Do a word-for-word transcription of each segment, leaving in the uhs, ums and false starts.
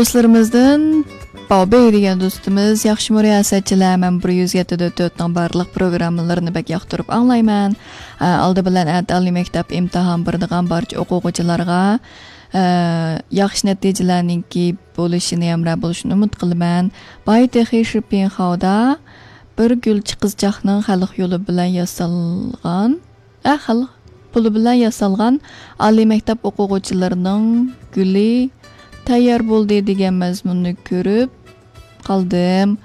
دوستلىرىمىزدىن باۋبېي دېگەن دوستىمىز، ياخشىمۇ رىياسەتچىلەر؟ مەن بىر يۈز يەتتە دۆت تۆتنىڭ بارلىق پروگراممىلىرىنى بەك ياقتۇرۇپ ئاڭلايمەن. ئە، ئالدى بىلەن ئەتە ئالىي مەكتەپ ئىمتىھان بېرىدىغان بارچە ئوقۇغۇچىلارغا، ئە، ياخشى نەتىجىلەرنىڭكى بولۇشىنى، ھەمراھ بولۇشىنى ئۇمىد قىلىمەن. باي تېخى شىپىنخاۋدا بىر گۈلچى قىزچاقنىڭ خەلق يولى بىلەن ياسالغان، ئە، خەلق پۇلى بىلەن ياسالغان ئالىي مەكتەپ ئوقۇغۇچىلىرىنىڭ گۈلى تەييار بولدى دېگەن مەزمۇننى كۆرۈپ قالدىم.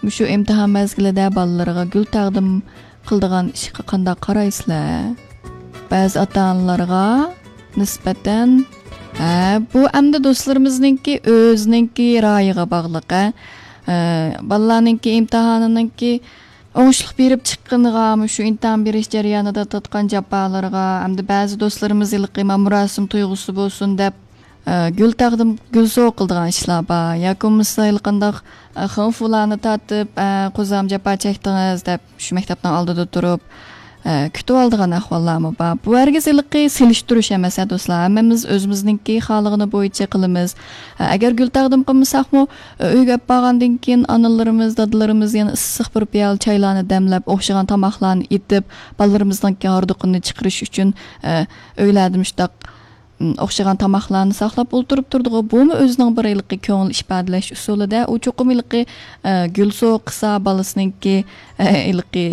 مۇشۇ ئىمتىھان مەزگىلىدە بالىلىرىغا گۈل تەقدىم قىلىدىغان ئىشقا قانداق قارايسىلەر؟ بەزى ئاتا-ئانىلارغا نىسبەتەن، ھە، بۇ ئەمدى دوستلىرىمىزنىڭكى ئۆزىنىڭكى رايىغا باغلىق، ھە. ئە، بالىلارنىڭكى ئىمتىھانىنىڭكى ئوڭۇشلۇق بېرىپ چىققىنىغا، مۇشۇ ئىمتىھان بېرىش جەريانىدا تارتقان جاپالىرىغا، ئەمدى بەزى دوستلىرىمىز ھېلىقى مۇراسىم تۇيغۇسى بولسۇن دەپ، ئە، گۈل تەقدىم، گۈل سوۋغا قىلىدىغان ئىشلار بار. ياكى بولمىسا ھېلىقانداق، ئە، خېڭفۇلارنى تارتىپ، ئە، قوزام جاپا چەكتىڭىز دەپ، شۇ مەكتەپنىڭ ئالدىدا تۇرۇپ، ئە، كۈتۈۋالىدىغان ئەھۋاللارمۇ بار. بۇ ھەرگىز ھېلىقى سېلىشتۇرۇش ئەمەس، ھە، دوستلار. ھەممىمىز ئۆزىمىزنىڭكى خالىغىنى بويىچە قىلىمىز. ئە، ئەگەر گۈل تەقدىم قىلمىساقمۇ، ئە، ئۆيگە ئەپ بارغاندىن كېيىن ئانىلىرىمىز، دادىلىرىمىز يەنە ئىسسىق بىر پىيالە چايلارنى دەملەپ، ئوخشىغان تاماقلارنى ئېتىپ، بالىلىرىمىزنىڭكى ھاردۇقىنى چىقىرىش ئۈچۈن، ئە، ئۆيلەردە مۇشۇنداق، م، ئوخشىغان تاماقلارنى ساقلاپ ئولتۇرۇپ تۇردىغۇ. بۇمۇ ئۆزىنىڭ بىر ھېلىقى كۆڭۈل ئىپادىلەش ئۇسۇلىدە. ئۇ چوقۇم ھېلىقى، ئە، گۈل سوۋغا قىلسا، بالىسىنىڭكى، ئە، ھېلىقى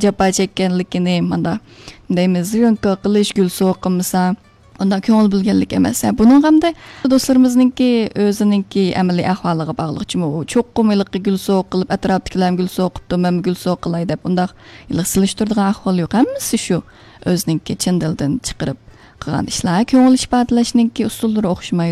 جاپا چەككەنلىكىنى، ماندا، نېمە، زىيونكا قىلىش، گۈل سوۋغا قىلمىسا، ئۇنداق كۆڭۈل بۆلگەنلىك ئەمەس. ھە، بۇنىڭغا ئەمدى دوستلىرىمىزنىڭكى ئۆزىنىڭكى ئەمەلىي ئەھۋالىغا باغلىق. چۈنكى ئۇ چوقۇم ھېلىقى گۈل سوۋغا قىلىپ، ئەتراپتىكىلەرمۇ گۈل سوۋغا قىپتۇ، مەنمۇ گۈل سوۋغا قىلاي دەپ، ئۇنداق ھېلىقى سېلىشتۇرىدىغان ئەھۋال يوق. ھەممىسى شۇ ئۆزىنىڭكى چىن دىلدىن چىقىرىپ قىلغان ئىشلار. كۆڭۈل ئىپادىلەشنىڭكى ئۇسۇللىرى ئوخشىمايدۇ.